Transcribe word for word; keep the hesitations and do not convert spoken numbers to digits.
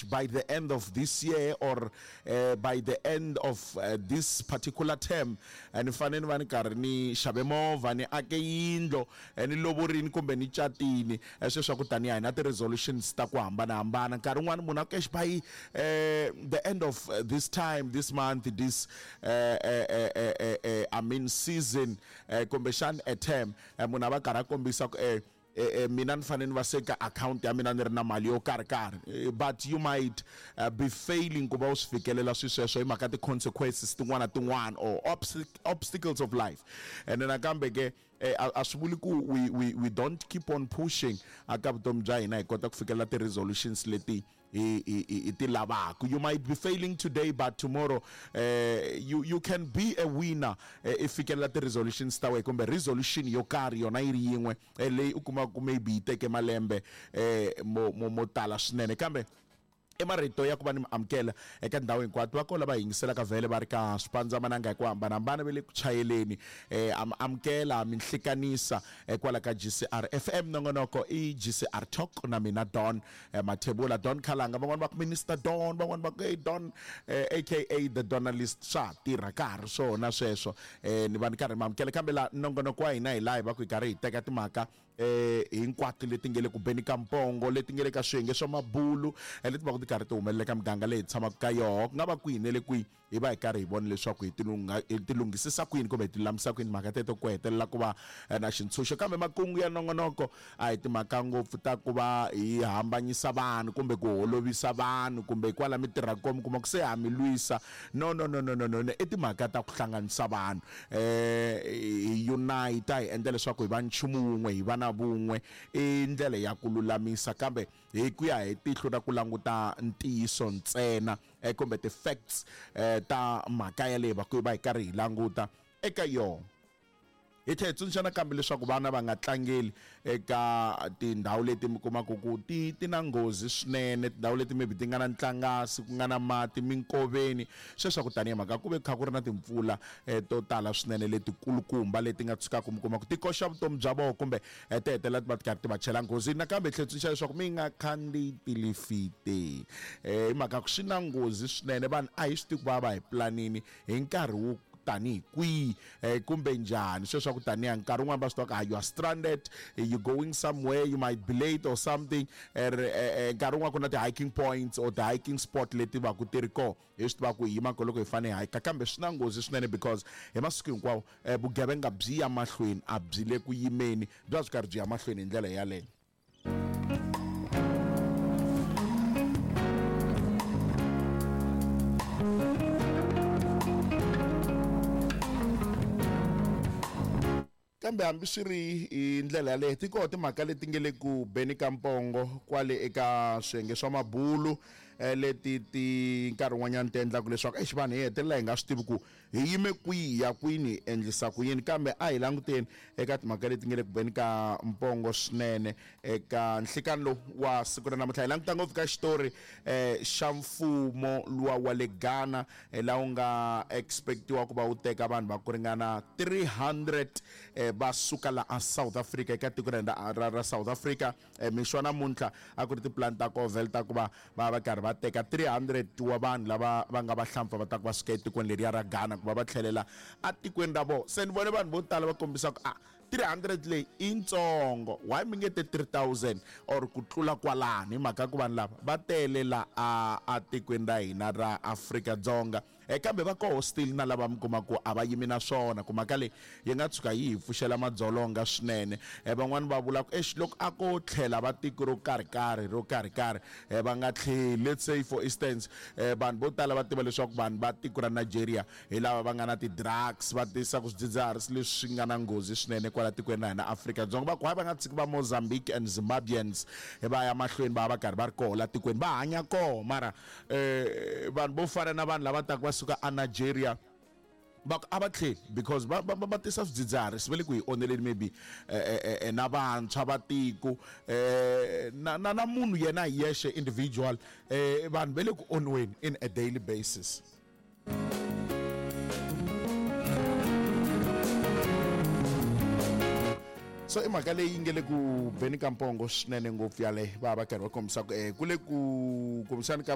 By the end of this year or uh, by the end of uh, this particular term, ni fanele ni va ni karhi ni xave movha, ni ake yindlo, ni lovorini kumbe ni catini. Sweswo swa ku taniya hi na ti-resolutions ta ku hambanahambana. Nkarhi wun'wani munhu a ku exi by uh, the end of this time, this month, this uh, uh, uh, uh, uh, I mean season, uh, kumbexani a term, munhu a va karhi a kombisa ku eh Eh, mina ni fanele ni va se ka akhawunti ya mina ni ri na mali yo karhi karhi, but you might uh, be failing ku va u swi fikelela swi sweswo hi mhaka ti-consequences tin'wana tin'wana or obstacles of life. And nakambe ke a swi vuli ku we, we, we don't keep on pushing aka vutomi bya hina hi kota ku fikelela ti-resolutions leti hi ti lavaka. You might be failing today, but tomorrow uh, you, you can be a winner i fikelela ti-resolutions ta wena kumbe resolution yo karhi yona yi ri yin'we leyi u kumaka ku maybe yi teke malembe mo, mo, mo tala swinene. Kambe i marito ya ku va ni mi amukela eka ndhawu hinkwato va kona va yingiselaka vhele va ri ka swipandzamananga hi ku hambanahambana va le ku chayeleni. eh am amukela mi nhlikanisa kwala ka G C R F M. Nongonoko i G C R Talk na mina Don Mathebula, Don Khalanga, van'wani va ku Minister Don, van'wani va ku hey Don, eh, aka the Donalist. Swa tirha ka ha ri swona sweswo. eh ni va ni karhi mi amukela kambe la nongonoko wa hina hi laha hi va ku hi karhi hi teka timhaka eh hinkwato leti nge le ku beni ka mpongo, leti nge le ka swiyenge swa mabulu, leti va ku ti karhi ti humelela ka miganga leyi hi tshamaka ka yoho, ku nga va kwihi ne le kwihi, hi va hi karhi hi vona leswaku hi tilungha hi tilunghisisa kwini kumbe hi tilulamisa kwini timhaka teto ku hetelela ku va na xintshunxo. Kambe makungu ya nongonoko a hi timhaka ngopfu ta ku va hi hambanyisa vanhu kumbe ku holovisa vanhu kumbe kwala mi tirhaka kona mi kuma ku se ha mi lwisa. No, no, no, no, no, no, i timhaka ta ku hlanganisa vanhu, eh hi unite, hi endla leswaku hi va nchumu wun'we, hi va na vun'we. I ndlela ya ku lulamisa kambe hi ku ya hi tihlo ra ku languta ntiyiso ntsena kumbe ti-facts ta mhaka yaleyo va ku va hi karhi hi languta eka yona. Hi tlhela hi tsundzuxa nakambe leswaku vana va nga tlangeli eka tindhawu leti mi kumaka ku ti ti na nghozi swinene, tindhawu leti maybe ti nga na ntlangasi, ku nga na mati minkoveni, sweswo ku tanihi mhaka ku ve kha ku ri na timpfula to tala swinene letikulukumba leti nga tshukaka mi kuma ku ti koxa vutomi bya vona kumbe ti hetelela ti va ti karhi ti va chela nghozi. Nakambe hi tlhela hi tsundzuxa leswaku mi nga khandziyi tilifiti hi mhaka ku swi na nghozi swinene. Vanhu a hi swi tivi ku va va hi planini hi nkarhi wo tanihi kwihi kumbe njhani. Sweswo ku tanihi nkarhi wun'wani va swi tiva ku you are stranded, you going somewhere, you might be late or something. Nkarhi wun'wani ku na ti-hiking points or ti-hiking spot leti va ku ti ri kona, hi swi tiva ku hi yima kona loko hi fanele hi hike, kambe swi na nghozi swinene because hi masiku hinkwawo vugevenga byi ya mahlweni, a byi le ku yimeni, bya byi karhi byi ya mahlweni hi ndlela yaleyo. Kambe hambi swi ri hi ndlela yaleyo, ti kona timhaka leti nge le ku beni ka mpongo kwale eka swiyenge swa mabulu leti ti nkarhi wun'wanyana ti endlaka leswaku exi vanhu hi hetelela hi nga swi tivi ku hi yime kwihi ya kwini hi endlisa ku yini. Kambe a hi languteni eka timhaka leti nge le ku beni ka mpongo swinene eka nhlikani lowu wa siku ra namuntlha. Hi languta ngopfu ka xitori xa mfumo luwa wa le Ghana laha wu nga expectiwa ku va wu teka vanhu va ku ringana three hundred va suka laha South Africa, eka tiko ra ra South Africa. Mixo wa namuntlha a ku ri tipulani ta koho ta ku va va va karhi va teka three hundred wa vanhu lava va nga vahlampfa va ta ku va suka etikweni leriya ra Ghana ku va va tlhelela etikweni ra vona. Se ni vone vanhu vo tala va kombisa ku a three hundred leyi i ntsongo, why mi nge te three thousand or ku tlula kwalano, hi mhaka ku vanhu lava va tele la a atikweni ra hina ra Afrika-Dzonga. Kambe va koho still na lava mi kuma ku a va yimi na swona, ku mhaka leyi yi nga tshuka yi hi pfuxela madzolonga swinene. Van'wani va vula ku exi loko a ko tlhela va tiko ro karhi karhi ro karhi karhi va nga tlheli. Let's say for instance, vanhu vo tala va tiva leswaku vanhu va tiko ra Nigeria hi lava va nga na ti-drugs, va tisaka swidzidziharisi leswi nga na nghozi swinene kwala tikweni ra hina Afrika-Dzonga. Va ku hayi va nga tshiki va Mozambique and Zimbabweans va ya mahlweni va va karhi va ri koho la tikweni va hanya koho, mara vanhu vo fana na vanhu lava taka va suka a Nigeria va a va tlheli because va va va tisa swidzidziharisi, va le ku hi onheleni maybe na vantshwa va tiko na na na munhu yena hi yexe individual, vanhu va le ku onweni in a daily basis. So i mhaka leyi nge le ku beni ka mpongo swinene ngopfu yaleyo, va va karhi va kombisa ku eh, ku le ku kombisani ka